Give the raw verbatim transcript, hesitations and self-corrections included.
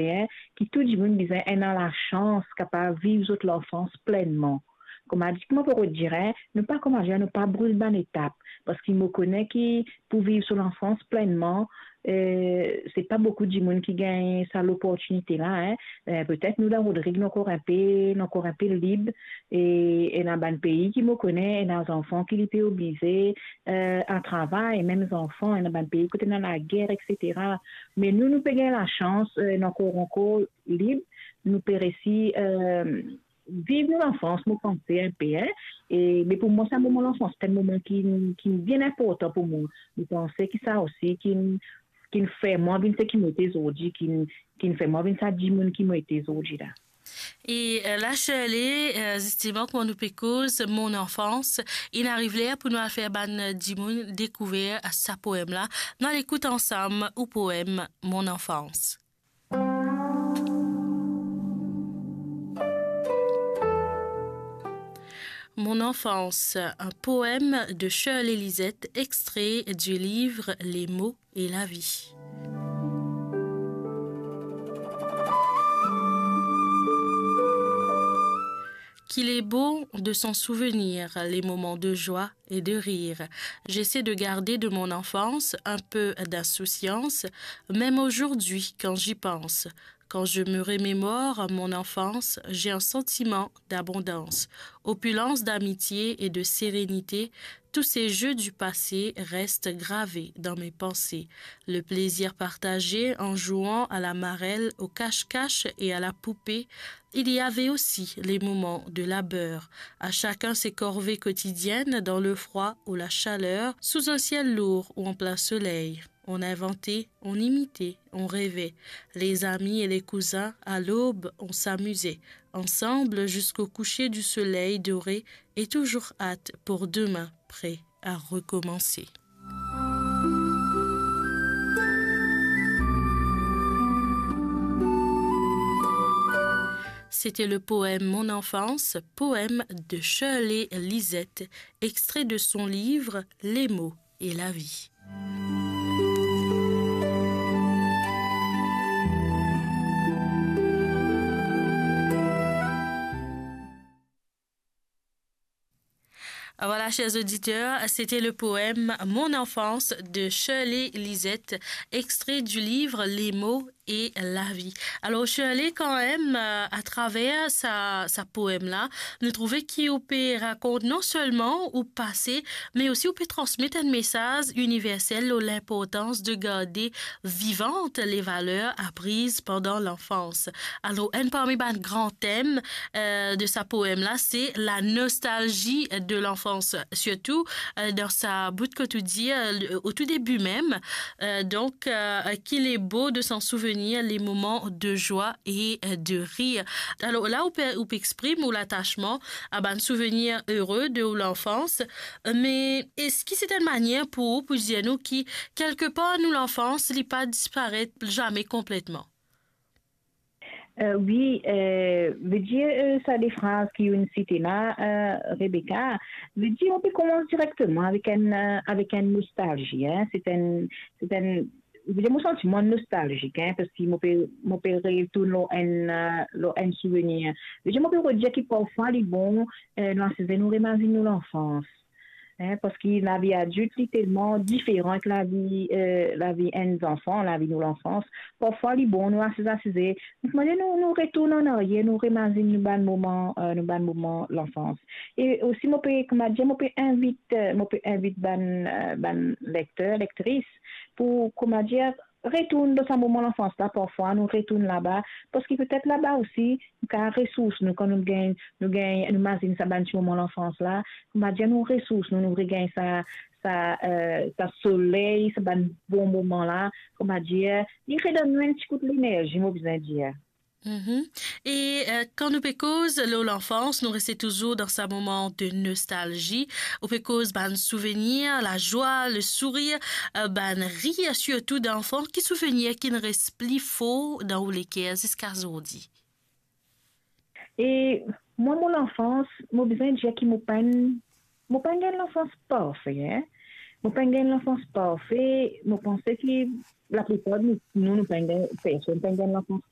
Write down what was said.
panse, en, ki tou dimoun bizin ena lasans kapav viv zot lanfans plennman. Kouma dir, kouma pou dir, en, nou pa, kouma dir, nou pa bril bann etap, parski mo kone ki pou viv so lanfans plennman, eh, se pa boukou dimoun ki gagn sa loportinite la, en. Eh, petet nou, la Rodrig, nou ankor inpe, nou ankor inpe lib, e ena bann pei ki mo kone, ena zanfan ki li pe oblize, eh, al travay, mem zanfan, ena bann pei kot ena lager, et cetera. Me nou, nou pe gagn lasans, eh, nou ankor, ankor lib, nou pe resi, eh, viv nou lanfans, mo panse inpe, en. E, me pou mwa, sa moman lanfans, se enn moman ki, ki bien inportan pou mwa. Mo panse ki sa osi ki, ki fer mwa vinn seki mo ete zordi, ki, ki fer mwa vinn sa dimoun ki mo ete zordi la. E, eh, la, Shirley, eh, zisteman, kouma nou pe koz Mon enfance, inn ariv ler pou nou al fer bann dimoun dekouver sa poem la. Nou al ekout ansam ou poem Mon enfance. Mon enfance, un poème de Shirley Lisette, extrait du livre Les mots et la vie. Qu'il est beau de s'en souvenir, les moments de joie et de rire. J'essaie de garder de mon enfance un peu d'insouciance, même aujourd'hui quand j'y pense. Quand je me remémore mon enfance, j'ai un sentiment d'abondance, opulence d'amitié et de sérénité. Tous ces jeux du passé restent gravés dans mes pensées. Le plaisir partagé en jouant à la marelle, au cache-cache et à la poupée. Il y avait aussi les moments de labeur. À chacun ses corvées quotidiennes, dans le froid ou la chaleur, sous un ciel lourd ou en plein soleil. On inventait, on imitait, on rêvait. Les amis et les cousins, à l'aube, on s'amusait. Ensemble jusqu'au coucher du soleil doré et toujours hâte pour demain, prêt à recommencer. C'était le poème Mon enfance, poème de Shirley Lisette, extrait de son livre Les mots et la vie. Voilà, chers auditeurs, c'était le poème Mon enfance de Shirley Lisette, extrait du livre Les mots et la vie. Alors, Shirley, kanmem, euh, atraver sa, sa poem la, nou trouve ki ou pe rakont non selman ou pase, me osi ou pe transmet enn mesaz iniversel lor linportans de garde vivant les valeurs apprises pendant l'enfance. Alors, enn parmi bann gran tem, euh, de sa poem la, se la nostalgie de l'enfance, sirtou, euh, dan sa bout kot ou dir, euh, au tout début même, euh, donk, euh, qu'il est beau de s'en souvenir, les moments de joie et, euh, de rire. Alors la, ou pe, ou pe exprim ou latasman a bann souvenir ere de ou lanfans, euh, me eski se enn manier pou ou pou dir nou ki, kelkepar, nou lanfans, li pa disparet zame konpletman? Euh, wi, euh, vedir, euh, sa de fraz ki ou'nn site la, euh, Rebecca, vedir, ou pe koumans direkteman avek enn, euh, avek enn nostalzi, en. Se enn, se enn, vedir, mo santi mwa nostalzik, en, parski mo pe, mo pe retourn lor enn, euh, lor enn souvenir. Vedir, mo pe dir ki parfwa li bon, euh, nou asize, nou remazinn nou lanfans. En, parski lavi adilt, li telman diferan ek lavi, euh, lavi enn zanfan, lavi nou lanfans. Parfwa, li bon, nou asize, asize, nou, kouma dir, nou, nou retourn an aryer, nou remazinn nou bann moman, euh, nou bann moman lanfans. E osi, mo pe, kouma dir, mo pe invit, euh, mo pe invit bann, euh, bann lekter, lektris, pou, kouma dir, retourn dan sa moman lanfans la, parfwa nou retourn laba, parski petet laba osi, nou kapav resours nou, kan nou gagn, nou gagn, nou mazinn sa bann ti moman lanfans la, kouma dir, nou resours nou, nou regagn sa, sa, euh, sa soley, sa bann bon moman la, kouma dir, li redonn nou enn ti kout lenerzi, mo bizin dir. Mhm. E, euh, kan nou pe koz lor lanfans, nou reste touzour dan sa moman de nostalzi. Ou pe koz bann souvenir, la joie, le sourire, euh, bann rir, sirtou danfan. Ki souvenir ki'nn res pli for dan ou leker ziska zordi? E mwa, mo lanfans, mo bizin dir ki mo pa'nn, mo pa'nn gagn lanfans parfe, en. Mo pa'nn gagn lanfans parfe, mo panse ki laplipar nou, nou, nou pa'nn gagn, personn pa'nn gagn lanfans